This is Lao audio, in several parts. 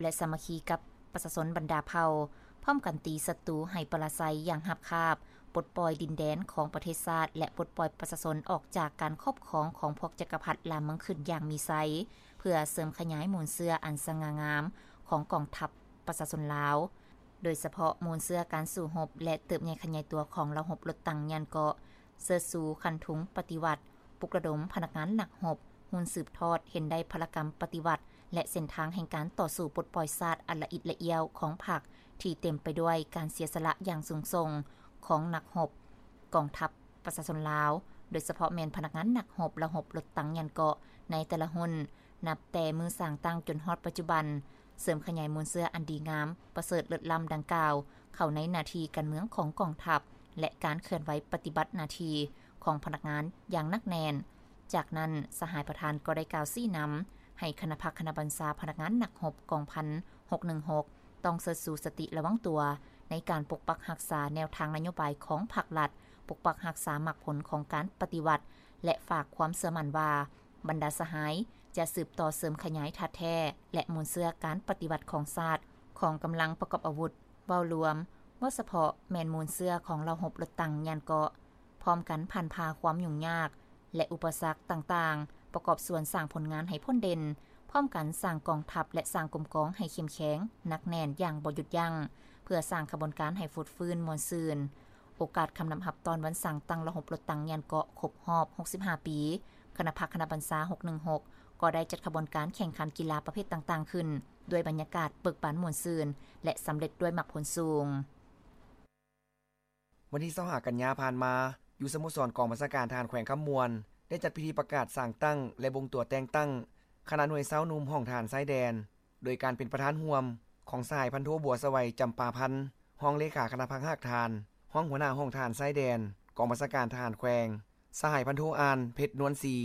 ແລະ ສາມັກຄີກັບປະຊາຊົນບັນດາເຜົ່າ, ພ້ອມກັນຕີສັດຕູໃຫ້ປະລາໄຊຢ່າງຮາບຄາບ, ປົດປ່ອຍດິນແດນຂອງປະເທດຊາດ ແລະ ປົດປ່ອຍປະຊາຊົນອອກຈາກການຄອບຄອງຂອງພວກຈັກກະພັດລ່າເມືອງຂຶ້ນຢ່າງມີໄຊ, ເພື່ອເສີມຂະຫຍາຍມູນເຊື້ອອັນສະຫງ່າງາມຂອງກອງທັບປະຊາຊົນລາວ, ໂດຍສະເພາະມູນເຊື້ອການສູ້ຮົບ ແລະ ເຕີບໃຫຍ່ຂະຫຍາຍຕົວຂອງເຫຼົ່າຮົບລົດຕັງຍານເກາະ, ເຊີດຊູຄັນທຸງປະຕິວັດ, ປຸກລະດົມພະນັກງານນັກຮົບ, ຮຸ່ນສືບທອດເຫັນໄດ້ພະລະກຳປະຕິວັດ ແລະ ເສັ້ນທາງແຫ່ງການຕໍ່ສູ້ປົດປ່ອຍຊາດອັນລະອິດລະອ້ຽວຂອງພັກ ທີ່ເຕັມໄປດ້ວຍການເສຍສະຫຼະຢ່າງສູງສົ່ງຂອງນັກຮົບກອງທັບປະຊາຊົນລາວ, ໂດຍສະເພາະແມ່ນພະນັກງານນັກຮົບເຫຼົ່າຮົບລົດຕັງຍານເກາະໃນແຕ່ລະຮຸ່ນ, ນັບແຕ່ມື້ສ້າງຕັ້ງຈົນຮອດປັດຈຸບັນ, ເສີມຂະຫຍາຍມູນເຊື້ອອັນດີງາມປະເສີດເລີດລ້ຳດັ່ງກ່າວ ເຂົ້າໃນໜ້າທີ່ການເມືອງຂອງກອງທັບ ແລະ ການເຄື່ອນໄຫວປະຕິບັດໜ້າທີ່ຂອງພະນັກງານຢ່າງໜັກແໜ້ນ. ຈາກນັ້ນ, ສະຫາຍປະທານກໍໄດ້ກ່າວຊີ້ນຳໃຫ້ຄະນະພັກຄະນະບັນຊາພະນັກງານນັກຮົບກອງພັນຫົກໜຶ່ງຫົກ ຕ້ອງເຊີດຊູສະຕິລະວັງຕົວໃນການປົກປັກຮັກສາແນວທາງນະໂຍບາຍຂອງພັກລັດ, ປົກປັກຮັກສາໝາກຜົນຂອງການປະຕິວັດ ແລະ ຝາກຄວາມເຊື່ອໝັ້ນວ່າ ບັນດາສະຫາຍຈະສືບຕໍ່ເສີມຂະຫຍາຍທາດແທ້ ແລະ ມູນເຊື້ອການປະຕິວັດຂອງຊາດ, ຂອງກຳລັງປະກອບອາວຸດ ເວົ້າລວມ, ເວົ້າສະເພາະແມ່ນມູນເຊື້ອຂອງເຫຼົ່າຮົບລົດຕັງຍານເກາະ, ພ້ອມກັນຜ່ານຜ່າຄວາມຫຍຸ້ງຍາກ ແລະ ອຸປະສັກຕ່າງໆ, ປະກອບສ່ວນສ້າງຜົນງານໃຫ້ພົ້ນເດັ່ນ, ພ້ອມກັນສ້າງກອງທັບ ແລະ ສ້າງກົມກອງໃຫ້ເຂັ້ມແຂງ, ໜັກແໜ້ນຢ່າງບໍ່ຢຸດຢັ້ງ, ເພື່ອສ້າງຂະບວນການໃຫ້ຟົດຟື້ນມ່ວນຊື່ນ. ໂອກາດຄຳນັບຮັບຕ້ອນວັນສ້າງຕັ້ງເຫຼົ່າຮົບລົດຕັງຍານເກາະຄົບຮອບຫົກສິບຫ້າປີ, ຄະນະພັກຄະນະບັນຊາຫົກໜຶ່ງຫົກ ກໍໄດ້ຈັດຂະບວນການແຂ່ງຂັນກິລາປະເພດຕ່າງໆຂຶ້ນ ດ້ວຍບັນຍາກາດເບີກບານມ່ວນຊື່ນ ແລະ ສຳເລັດດ້ວຍໝາກຜົນສູງ. ວັນທີຊາວຫ້າກັນຍາຜ່ານມາ, ຢູ່ສະໂມສອນກອງບັນຊາການທະຫານແຂວງຄຳມ່ວນ ໄດ້ຈັດພິທີປະກາດສ້າງຕັ້ງ ແລະ ບົ່ງຕົວແຕ່ງຕັ້ງຄະນະໜ່ວຍຊາວໜຸ່ມຫ້ອງທະຫານຊາຍແດນ ໂດຍການເປັນປະທານຮ່ວມຂອງສະຫາຍພັນໂທ ບົວສະໄຫວ ຈຳປາພັນ ຮອງເລຂາຄະນະພັກຮາກຖານ, ຮອງຫົວໜ້າຫ້ອງທະຫານຊາຍແດນ ກອງບັນຊາການທະຫານແຂວງ, ສະຫາຍພັນໂທ ອານ ເພັດນວນສີ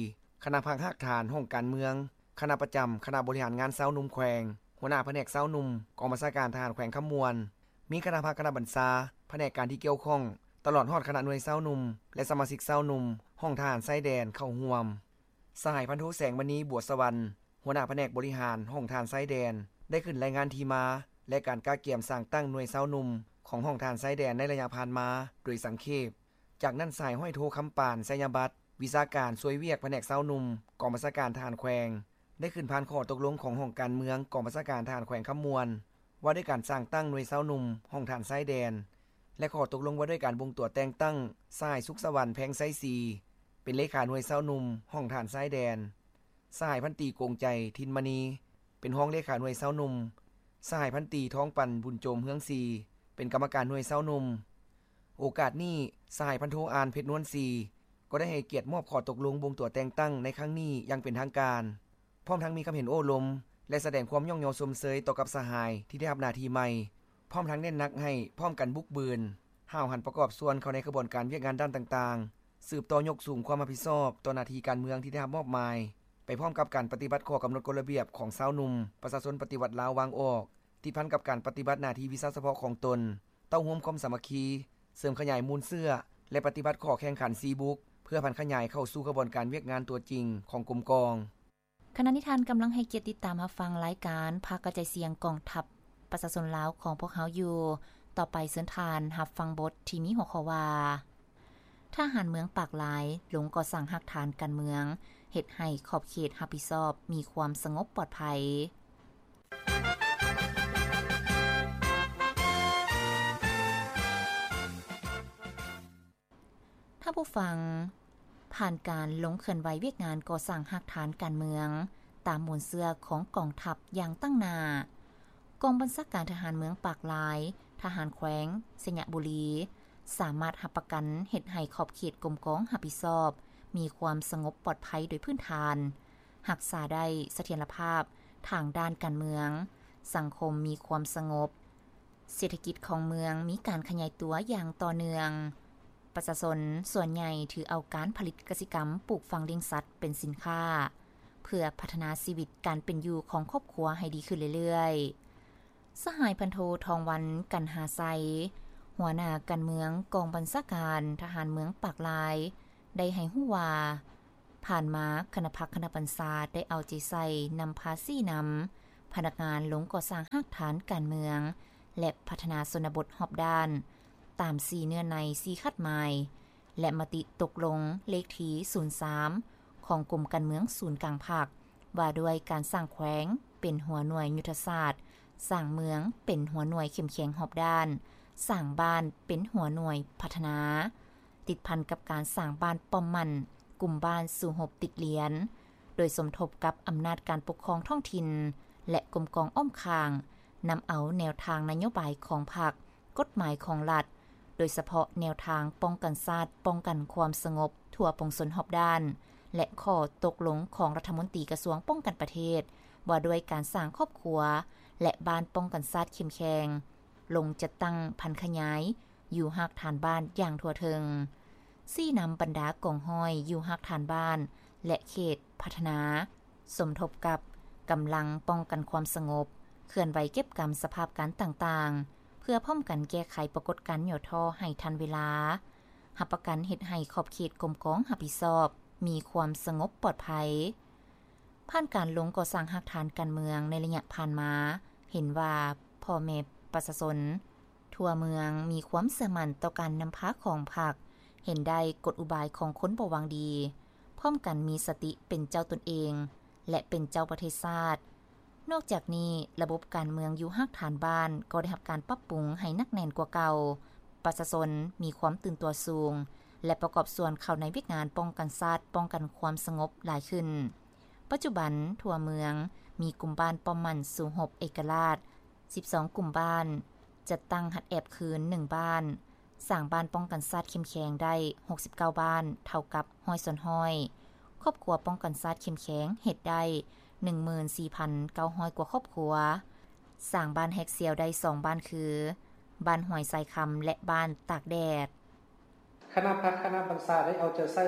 ຄະນະພັກຮາກຖານຫ້ອງການເມືອງ, ຄະນະປະຈຳຄະນະບໍລິຫານງານຊາວໜຸ່ມແຂວງ, ຫົວໜ້າພະແນກຊາວໜຸ່ມ ກອງບັນຊາການທະຫານແຂວງຄຳມ່ວນ, ມີຄະນະພັກຄະນະບັນຊາ, ພະແນກການທີ່ກ່ຽວຂ້ອງ, ຕະຫຼອດຮອດຄະນະໜ່ວຍຊາວໜຸ່ມ ແລະ ສະມາຊິກຊາວໜຸ່ມຫ້ອງທະຫານຊາຍແດນເຂົ້າຮ່ວມ. ສະຫາຍພັນໂທ ແສງມະນີ ບົວສະຫວັນ ຫົວໜ້າພະແນກບໍລິຫານຫ້ອງທະຫານຊາຍແດນ ໄດ້ຂຶ້ນລາຍງານທີ່ມາ ແລະ ການກະກຽມສ້າງຕັ້ງໜ່ວຍຊາວໜຸ່ມຂອງຫ້ອງທະຫານຊາຍແດນໃນໄລຍະຜ່ານມາໂດຍສັງເຂບ. ຈາກນັ້ນ ສະຫາຍຮ້ອຍໂທ ຄຳປານ ໄຊຍະບັດ ວິຊາການຊ່ວຍວຽກພະແນກຊາວໜຸ່ມ ກອງບັນຊາການທະຫານແຂວງ ໄດ້ຂຶ້ນຜ່ານຂໍ້ຕົກລົງຂອງຫ້ອງການເມືອງ ກອງບັນຊາການທະຫານແຂວງຄຳມ່ວນ ວ່າດ້ວຍການສ້າງຕັ້ງໜ່ວຍຊາວໜຸ່ມຫ້ອງທະຫານຊາຍແດນ ແລະ ຂໍ້ຕົກລົງວ່າດ້ວຍການບົ່ງຕົວແຕ່ງຕັ້ງ ສະຫາຍ ສຸກສະຫວັນ ແພງໄຊສີ ເປັນເລຂາໜ່ວຍຊາວໜຸ່ມຫ້ອງທະຫານຊາຍແດນ, ສະຫາຍ ພັນຕີ ກົງໃຈ ທິນມະນີ ເປັນຮອງເລຂາໜ່ວຍຊາວໜຸ່ມ, ສະຫາຍ ພັນຕີ ທອງປັນ ບຸນໂຈມ ເຮືອງສີ ເປັນກຳມະການໜ່ວຍຊາວໜຸ່ມ. ໂອກາດນີ້ ສະຫາຍ ພັນໂທ ອານ ເພັດນວນສີ ກໍໄດ້ໃຫ້ກຽດມອບຂໍ້ຕົກລົງບົ່ງຕົວແຕ່ງຕັ້ງໃນຄັ້ງນີ້ຢ່າງເປັນທາງການ, ພ້ອມທັງມີຄຳເຫັນໂອ້ລົມ ແລະ ສະແດງຄວາມຍ້ອງຍໍຊົມເຊີຍຕໍ່ກັບສະຫາຍທີ່ໄດ້ຮັບໜ້າທີ່ໃໝ່, ພ້ອມທັງເນັ້ນໜັກໃຫ້ພ້ອມກັນບຸກບືນ, ຫ້າວຫັນປະກອບສ່ວນເຂົ້າໃນຂະບວນການວຽກງານດ້ານຕ່າງໆ, ສືບຕໍ່ຍົກສູງຄວາມຮັບຜິດຊອບຕໍ່ໜ້າທີ່ການເມືອງທີ່ໄດ້ຮັບມອບໝາຍ, ໄປພ້ອມກັບການປະຕິບັດຂໍ້ກຳນົດກົດລະບຽບຂອງຊາວໜຸ່ມປະຊາຊົນປະຕິວັດລາວວາງອອກ, ຕິດພັນກັບການປະຕິບັດໜ້າທີ່ວິຊາສະເພາະຂອງຕົນ, ເຕົ້າໂຮມຄວາມສາມັກຄີ, ເສີມຂະຫຍາຍມູນເຊື້ອ ແລະ ປະຕິບັດຂໍ້ແຂ່ງຂັນສີ່ບຸກ ເພື່ອຜັນຂະຫຍາຍເຂົ້າສູ່ຂະບວນການວຽກງານຕົວຈິງຂອງກົມກອງ. ຂະນະນີ້ທ່ານກຳລັງໃຫ້ກຽດຕິດຕາມຮັບຟັງລາຍການພາກກະຈາຍສຽງກອງທັບປະຊາຊົນລາວຂອງພວກເຮົາຢູ່. ຕໍ່ໄປເຊີນທ່ານຮັບຟັງບົດທີ່ມີຫົວຂໍ້ວ່າ ທະຫານເມືອງປາກລາຍລົງກໍ່ສ້າງຮາກຖານການເມືອງ ເຮັດໃຫ້ຂອບເຂດຮັບຜິດຊອບມີຄວາມສະຫງົບປອດໄພ. ທ່ານຜູ້ຟັງ, ຜ່ານການລົງເຄື່ອນໄຫວວຽກງານກໍ່ສ້າງຮາກຖານການເມືອງ ຕາມມູນເຊື້ອຂອງກອງທັບຢ່າງຕັ້ງໜ້າ, ກອງບັນຊາການທະຫານເມືອງປາກລາຍ, ທະຫານແຂວງໄຊຍະບູລີ ສາມາດຮັບປະກັນເຮັດໃຫ້ຂອບເຂດກົມກອງຮັບຜິດຊອບມີຄວາມສະຫງົບປອດໄພໂດຍພື້ນຖານ, ຮັກສາໄດ້ສະຖຽນລະພາບທາງດ້ານການເມືອງ, ສັງຄົມມີຄວາມສະຫງົບ, ເສດຖະກິດຂອງເມືອງມີການຂະຫຍາຍຕົວຢ່າງຕໍ່ເນື່ອງ. ປະຊາຊົນສ່ວນໃຫຍ່ຖືເອົາການຜະລິດກະສິກຳ, ປູກຝັງລ້ຽງສັດເປັນສິນຄ້າ ເພື່ອພັດທະນາຊີວິດການເປັນຢູ່ຂອງຄອບຄົວໃຫ້ດີຂຶ້ນເລື້ອຍໆ. ສະຫາຍພັນໂທ ທອງວັນ ກັນຫາໄຊ, ຫົວໜ້າການເມືອງກອງບັນຊາການທະຫານເມືອງປາກລາຍ ໄດ້ໃຫ້ຮູ້ວ່າ, ຜ່ານມາຄະນະພັກຄະນະບັນຊາໄດ້ເອົາໃຈໃສ່ນຳພາຊີ້ນຳ ພະນັກງານລົງກໍ່ສ້າງຮາກຖານການເມືອງ ແລະ ພັດທະນາຊົນນະບົດຮອບດ້ານ ຕາມສີ່ເນື້ອໃນ ສີ່ຄາດໝາຍ ແລະ ມະຕິຕົກລົງເລກທີສູນສາມ ຂອງກົມການເມືອງສູນກາງພັກ ວ່າດ້ວຍການສ້າງແຂວງເປັນຫົວໜ່ວຍຍຸດທະສາດ, ສ້າງເມືອງເປັນຫົວໜ່ວຍເຂັ້ມແຂງຮອບດ້ານ, ສ້າງບ້ານເປັນຫົວໜ່ວຍພັດທະນາ, ຕິດພັນກັບການສ້າງບ້ານປ້ອມໝັ້ນ, ກຸ່ມບ້ານສູ້ຮົບຕິດລຽນ, ໂດຍສົມທົບກັບອຳນາດການປົກຄອງທ້ອງຖິ່ນ ແລະ ກົມກອງອ້ອມຂ້າງ, ນຳເອົາແນວທາງນະໂຍບາຍຂອງພັກ, ກົດໝາຍຂອງລັດ, ໂດຍສະເພາະແນວທາງປ້ອງກັນຊາດ, ປ້ອງກັນຄວາມສະຫງົບທົ່ວປວງຊົນຮອບດ້ານ ແລະ ຂໍ້ຕົກລົງຂອງລັດຖະມົນຕີກະຊວງປ້ອງກັນປະເທດ ວ່າດ້ວຍການສ້າງຄອບຄົວ ແລະ ບ້ານປ້ອງກັນຊາດເຂັ້ມແຂງ, ລົງຈັດຕັ້ງຜັນຂະຫຍຢູ່ຮາກຖານບ້ານຢ່າງທົ່ວເຖິງ, ຊີ້ນຳບັນດາກອງຮ້ອຍຢູ່ຮາກຖານບ້ານ ແລະ ເຂດພັດທະນາ, ສົມທົບກັບກຳລັງປ້ອງກັນຄວາມສະຫງົບ, ເຄື່ອນໄຫວເກັບກຳສະພາບການຕ່າງໆ ເພື່ອພ້ອມກັນແກ້ໄຂປາກົດການຫຍໍ້ທໍ້ໃຫ້ທັນເວລາ, ຮັບປະກັນເຮັດໃຫ້ຂອບເຂດກົມກອງຮັບຜິດຊອບ ມີຄວາມສະຫງົບປອດໄພ. ຜ່ານການລົງກໍ່ສ້າງຮາກຖານການເມືອງໃນໄລຍະຜ່ານມາ, ເຫັນວ່າພໍ່ແມ່ປະຊາຊົນທົ່ວເມືອງມີຄວາມເຊື່ອໝັ້ນຕໍ່ການນຳພາຂອງພັກ, ເຫັນໄດ້ກົນອຸບາຍຂອງຄົນບໍ່ຫວັງດີ, ພ້ອມກັນມີສະຕິເປັນເຈົ້າຕົນເອງ ແລະ ເປັນເຈົ້າປະເທດຊາດ. ນອກຈາກນີ້, ລະບົບການເມືອງຢູ່ຮາກຖານບ້ານກໍໄດ້ຮັບການປັບປຸງໃຫ້ໜັກແໜ້ນກວ່າເກົ່າ, ປະຊາຊົນມີຄວາມຕື່ນຕົວສູງ ແລະ ປະກອບສ່ວນເຂົ້າໃນວຽກງານປ້ອງກັນຊາດ, ປ້ອງກັນຄວາມສະຫງົບຫຼາຍຂຶ້ນ. ປັດຈຸບັນທົ່ວເມືອງມີກຸ່ມບ້ານປ້ອມໝັ້ນສູ້ຮົບເອກະລາດສິບສອງກຸ່ມບ້ານ, ຈັດຕັ້ງຮັດແອບຄືນໜຶ່ງບ້ານ, ສ້າງບ້ານປ້ອງກັນຊາດເຂັ້ມແຂງໄດ້ຫົກສິບເກົ້າບ້ານ, ເທົ່າກັບຮ້ອຍສ່ວນຮ້ອຍ. ຄອບຄົວປ້ອງກັນຊາດເຂັ້ມແຂງເຮັດໄດ້ໜຶ່ງໝື່ນສີ່ພັນເກົ້າຮ້ອຍກວ່າຄອບຄົວ, ສ້າງບ້ານແຮກສ່ຽວໄດ້ສອງບ້ານຄື ບ້ານຫ້ວຍຊາຍຄຳ ແລະ ບ້ານຕາກແດດ. ຄະນະພັກຄະນະບັນຊາໄດ້ເອົາໃຈໃສ່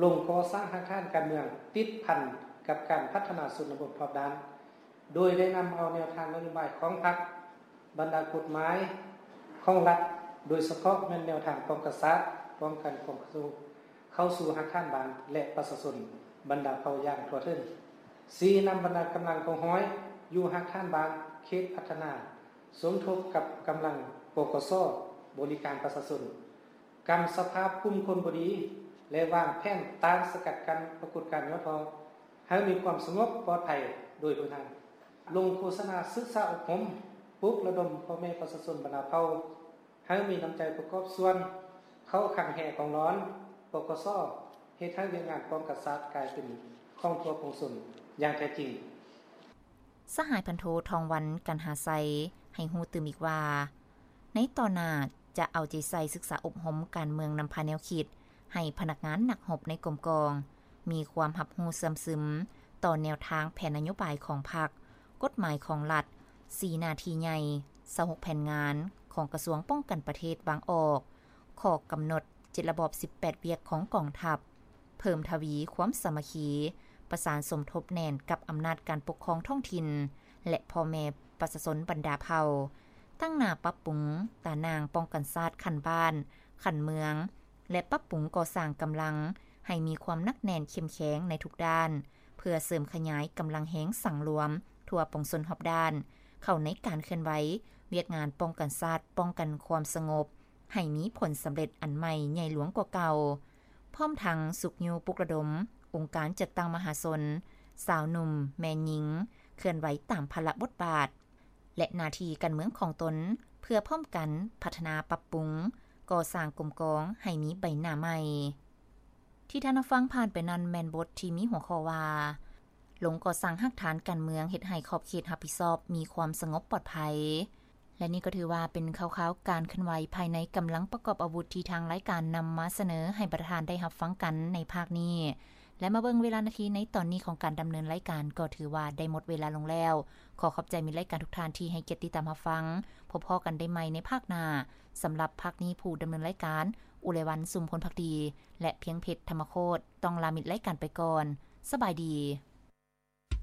ລົງກໍ່ສ້າງຮາກຖານການເມືອງ ຕິດພັນກັບການພັດທະນາຊົນນະບົດຮອບດ້ານ, ໂດຍໄດ້ນຳເອົາແນວທາງນະໂຍບາຍຂອງພັກ, ບັນດາກົດໝາຍຂອງລັດ, ໂດຍສະເພາະແມ່ນແນວທາງປ້ອງກັນຊາດ, ປ້ອງກັນຄວາມສະຫງົບ ເຂົ້າສູ່ຮາກຖານບ້ານ ແລະ ປະຊາຊົນບັນດາເຜົ່າຢ່າງທົ່ວເຖິງ. ຊີ້ນຳບັນດາກຳລັງກອງຮ້ອຍຢູ່ຮາກຖານບ້ານ, ເຂດພັດທະນາ, ສົມທົບກັບກຳລັງ ປກສ ບໍລິການປະຊາຊົນ, ກຳສະພາບກຸ່ມຄົນບໍ່ດີ ແລະ ວາງແຜນຕ້ານສະກັດກັ້ນປາກົດການຫຍໍ້ທໍ້ ໃຫ້ມີຄວາມສະຫງົບປອດໄພໂດຍເບື້ອງໜ້າ. ລົງໂຄສະນາສຶກສາອົບຮົມ, ປຸກລະດົມພໍ່ແມ່ປະຊາຊົນບັນດາເຜົ່າ ໃຫ້ມີນ້ຳໃຈປະກອບສ່ວນເຂົ້າຄັງແຮ່ກອງລອນ ປກສ ເຮັດໃຫ້ວຽກງານປ້ອງກັນຊາດກາຍເປັນຂອງທົ່ວປວງຊົນຢ່າງແທ້ຈິງ. ສະຫາຍພັນໂທ ທອງວັນ ກັນຫາໄຊ ໃຫ້ຮູ້ຕື່ມອີກວ່າ ໃນຕໍ່ໜ້າຈະເອົາໃຈໃສ່ສຶກສາອົບຮົມການເມືອງນຳພາແນວຄິດ ໃຫ້ພະນັກງານນັກຮົບໃນກົມກອງ ມີຄວາມຮັບຮູ້ເຊື່ອມຊຶມຕໍ່ແນວທາງແຜນນະໂຍບາຍຂອງພັກ, ກົດໝາຍຂອງລັດ, ສີ່ໜ້າທີ່ໃຫຍ່, ຊາວຫົກແຜນງານຂອງກະຊວງປ້ອງກັນປະເທດວາງອອກ, ຂໍ້ກຳນົດ ເຈັດລະບອບ ສິບແປດວຽກຂອງກອງທັບ, ເພີ່ມທະວີຄວາມສາມັກຄີ, ປະສານສົມທົບແໜ້ນກັບອຳນາດການປົກຄອງທ້ອງຖິ່ນ ແລະ ພໍ່ແມ່ປະຊາຊົນບັນດາເຜົ່າ, ຕັ້ງໜ້າປັບປຸງຕາໜ່າງປ້ອງກັນຊາດຂັ້ນບ້ານ, ຂັ້ນເມືອງ ແລະ ປັບປຸງກໍ່ສ້າງກຳລັງໃຫ້ມີຄວາມໜັກແໜ້ນເຂັ້ມແຂງໃນທຸກດ້ານ, ເພື່ອເສີມຂະຫຍາຍກຳລັງແຮງສັງລວມທົ່ວປວງຊົນຮອບດ້ານ ເຂົ້າໃນການເຄື່ອນໄຫວວຽກງານປ້ອງກັນຊາດ, ປ້ອງກັນຄວາມສະຫງົບ ໃຫ້ມີຜົນສຳເລັດອັນໃໝ່ໃຫຍ່ຫຼວງກວ່າເກົ່າ, ພ້ອມທັງຊຸກຍູ້ປຸກລະດົມອົງການຈັດຕັ້ງມະຫາຊົນ, ຊາວໜຸ່ມ, ແມ່ຍິງ ເຄື່ອນໄຫວຕາມພາລະບົດບາດ ແລະ ໜ້າທີ່ການເມືອງຂອງຕົນ ເພື່ອພ້ອມກັນພັດທະນາປັບປຸງ, ກໍ່ສ້າງກົມກອງໃຫ້ມີໃບໜ້າໃໝ່. ທີ່ທ່ານຮັບຟັງຜ່ານໄປນັ້ນແມ່ນບົດທີ່ມີຫົວຂໍ້ວ່າ ລົງກໍ່ສ້າງຮາກຖານການເມືອງເຮັດໃຫ້ຂອບເຂດຮັບຜິດຊອບມີຄວາມສະຫງົບປອດໄພ. ແລະ ນີ້ກໍຖືວ່າເປັນຂ່າວໆການເຄື່ອນໄຫວພາຍໃນກຳລັງປະກອບອາວຸດທີ່ທາງລາຍການນຳມາສະເໜີໃຫ້ບັນດາທ່ານໄດ້ຮັບຟັງກັນໃນພາກນີ້. ແລະ ມາເບິ່ງເວລານາທີໃນຕອນນີ້ຂອງການດຳເນີນລາຍການ ກໍຖືວ່າໄດ້ໝົດເວລາລົງແລ້ວ. ຂໍຂອບໃຈມິດລາຍການທຸກທ່ານທີ່ໃຫ້ກຽດຕິດຕາມຮັບຟັງ. ພົບພໍ້ກັນໄດ້ໃໝ່ໃນພາກໜ້າ. ສຳລັບພາກນີ້ ຜູ້ດຳເນີນລາຍການ ອຸໄລວັນ ຊຸມພົນພັກດີ ແລະ ພຽງເພັດ ທຳມະໂຄດ ຕ້ອງລາມິດລາຍການໄປກ່ອນ. ສະບາຍດີ.